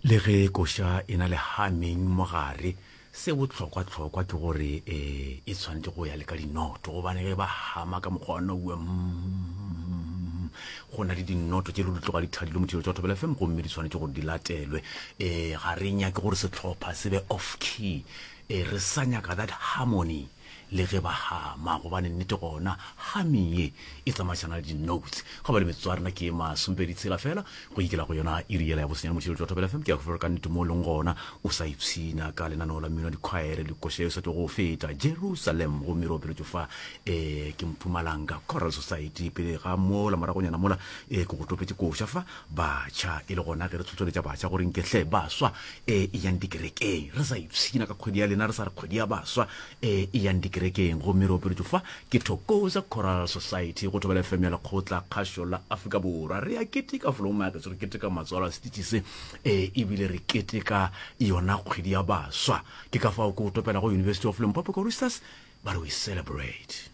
Le ge koša e na le humming mo gare, se bohlokwa-hlokwa ke gore e e tshwanetše go ya le ka dinoto, gobane ge ba hama ka mokgwa wa noue mm, go na le dinoto tše le di tloga di thadilwe motšhelo tša Thobela FM gomme di tshwanetše gore di latelwe. Um ga re nyake gore sehlopha se be off key, um re sa nyaka that harmony. Le ge ba hama, gobane nnete gona humming ye e tsamaišana le di-notes. Ga ba le metsotso ya rena ke ye masompedi tshela fela go ikela go yona iri yela ya bosenyane motšheletšo wa Thobela FM. Ke a kgofela ka nnete mo o leng gona o sa ipshina ka lenaneo la mmino wa dikhwaere le koša ye sa tšo go feta Jerusalem gomme re opeletšwe fa um ke Mpumalanga Choral Society. Pele ga mola moragonyana mola um ke go topetše koša fa batšha e le gona ge re tlhohleletša batšha gore nke hle baswa e eyang dikerekeng re sa ipshina ka kgwedi ya lena re sa re kgwedi ya baswa e eyang dikerekeng gomme re opeletšwe fa ke Thokoza Choral Society go Thobela FM ya lekgotla kgašo la Afrika Borwa. Re a keteka Flomax, re keteka matswalo a setitši se e ebile re keteka yona kgwedi ya baswa. Ke ka fao ke o topela go University of Limpopo Choristers ba re we celebrate.